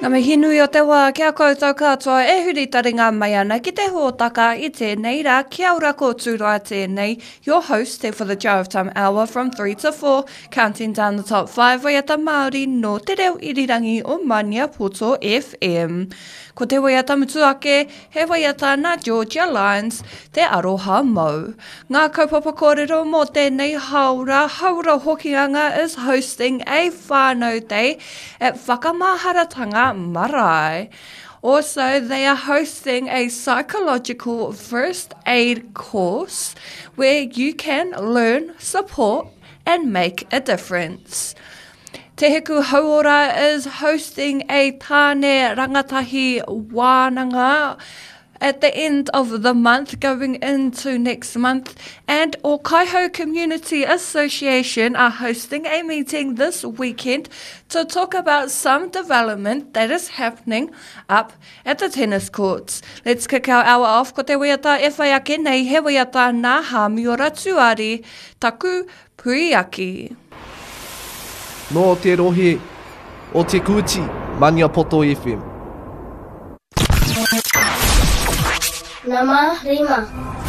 Ngā mihi nui o te wā ki a koutou katoa e huri taringa mai ana ki te hōtaka i tēnei rā. Kia ora ko Tūroa tēnei, your host for the Drive Time Hour from 3 to 4, counting down the top 5 waiata Māori nō te reo irirangi o Maniapoto FM. Ko te waiata mutu ake, he waiata nā Georgia Lyons, Te Aroha Mou. Ngā kaupapa kōrero mō tēnei hāora, Haora Hokianga is hosting a whānau day at Whakamaharatanga Marae. Also, they are hosting a psychological first aid course where you can learn, support and make a difference. Te Hiku Hauora is hosting a Tāne Rangatahi Wānanga at the end of the month going into next month and Okaihau Community Association are hosting a meeting this weekend to talk about some development that is happening up at the tennis courts. Let's kick our hour off ko te waiata e whai ake nei he waiata nā Hāmiora Tuari, Taku Puiaki. Nō te rohe o Te Kooti, Maniapoto FM. Nama rima.